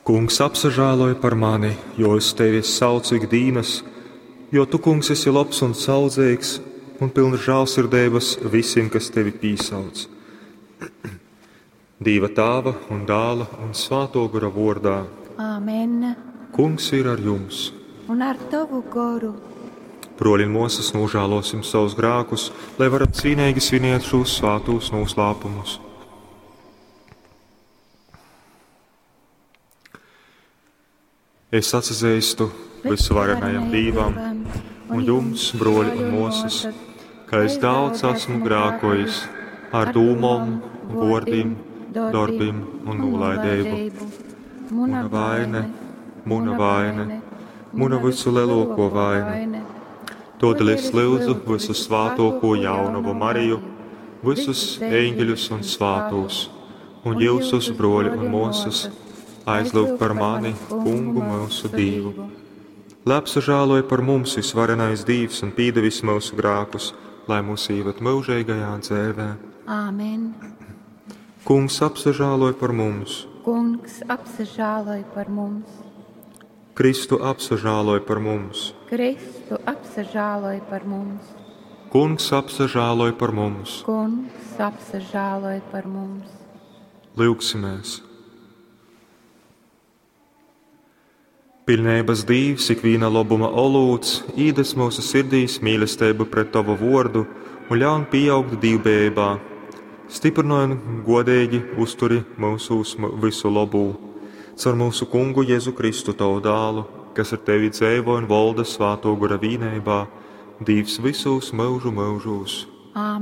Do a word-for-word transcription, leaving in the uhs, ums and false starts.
Kungs, apsažāloj par mani, jo es tevi saucu ik dīnas, jo tu, kungs, esi lobs un saudzeigs un pilns žālsirdeibas visim, kas tevi pīsauc. Dīva tāva un dāla un svāto gora vordā. Āmen. Kungs ir ar jums. Un ar tavu goru. Broļi un mosas, nožēlosim savus grēkus, lai varam cīnīgi svinēt šos svātos noslēpumus. Es atzīstu visuvarenajam Dievam un jums, broļi un mosas, ka es daudz esmu grēkojis ar dūmom, vārdiem, darbiem un nolaidību. Muna vaine, muna vaine, muna visu lielāko vaina. Todēļ es lūdzu visu svātoko jaunavu Mariju, visus eņģeļus un svātos, un jūsus broļi un mosas, aizlūgt par mani, kungu mūsu Dievu. Lai apsažāloja par mums visvarenais Dievs un pīdevis mūsu grēkus, lai mūs īved mūžīgajā dzēvē. Āmen. Kungs apsažāloja par mums. Kungs apsažāloj par mums. Kristu apsažāloja par mums. Kristu apsažāloj par mums. Kungs apsažāloja par mums. Kungs apsažāloj par mums. Lūgsimies! Pilnības Dīvs, ikviena labuma olūts, īdes mūsu sirdīs mīlestību pret Tavu vārdu un ļaun pieaugt dīvbējībā. Stiprinoj un godīgi uzturi mūsūs visu labū. Caur mūsu kungu Jēzu Kristu Tavu dālu, kas ar Tevi dzēvo un valda svāto gora vīnībā, Dīvs visos mūžu mūžos. Āmen.